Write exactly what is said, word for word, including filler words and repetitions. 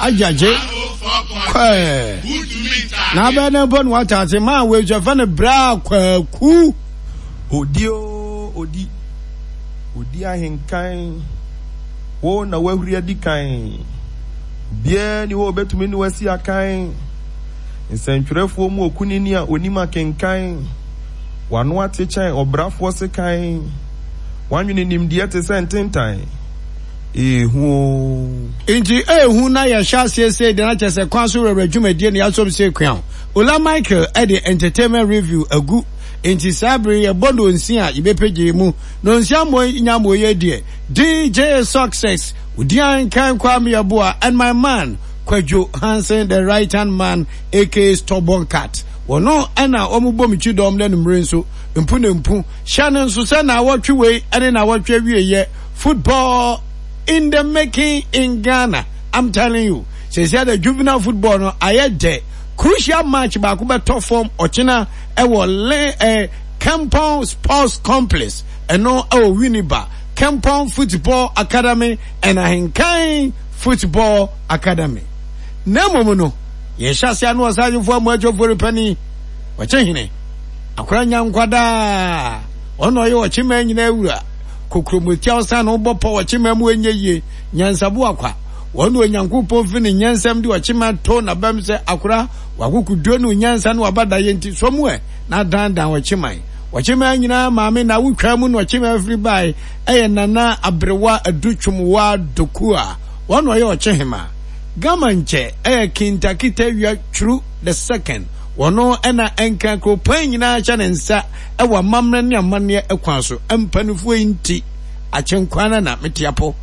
Agyagye kɔɛ. Na abɛn ne mpo na wate ase maa wei nso ɛfɛ no bra kwaku. Odi o odi, odi ahenkan, wo na wahuri adi kan. Obiara ni hɔ a obetumi ne wasi akan. Nsɛntwerɛfoɔ mu okunini a onim akenkan. Wano ate kyɛn ɔbrafoɔ sekan. Wanwene nimdeɛ te sɛ ntentan. Ehu o. Nti ehu na yɛhyɛ aseɛ sei de na kyerɛ sɛ kwan so werɛwerɛ dwumadie na yɛasom sei kua Ola Michael ɛde entertainment review agu. Nti saa bere yɛbɔ nonsi a yɛbɛpɛgye mu. Nonsi ammɔ nyamɔ yɛ deɛ D J Success, Odian Kan Kwame Yeboah, and my man Kwadwo Hansen, the right hand man, A K A Stubborn Cat. Wɔno ɛna wɔn bɔ me kyi dɔm na numere nso mpu ne mpu hyɛ no nso sɛ na awɔtwe wei ɛne na awɔtwe awie yɛ football in the making in Ghana. I'm telling you, sɛsɛ the juvenile football no ayɛ dɛ. Crucial match baako bɛtɔ fam ɔkyena ɛwɔ le ɛ Kempon Sports Complex, ɛno ɛwɔ Winneba, Kempon Football Academy and Ahenkan Football Academy. Na mmom no yɛhyɛ ase ano ɔsagyefo amu atwofo repani ɔkyɛ hene akora nya nkwadaa ɔno ɔyɛ ɔkyema nyinaa wura kokromotia ɔsan no bɔ pɔ ɔkyema mu enye yie nyansabo akwa wɔn Onyankopɔn fi ne nyansam de ɔkyema to n'abam sɛ akora wakokoduro ne onyansa ne wabada yɛ nti so mu ɛ na dandan ɔkyeman ɔkyeman nyinaa maame na wotwa mu na ɔkyeman firi bae ɛyɛ Nana Aberewa Adutwumwa Doku a wɔn ɔyɛ ɔkyehema gama nkyɛ ɛyɛ Kintakita Wia Twuru the Second. Wɔn ɛna ɛnka kuropɔn nyinaa hyɛ ne nsa ɛwɔ amammerɛ ne amanneɛ ɛkwan so mpanimfoɔ yi nti akyɛnkwan na na mete apɔ.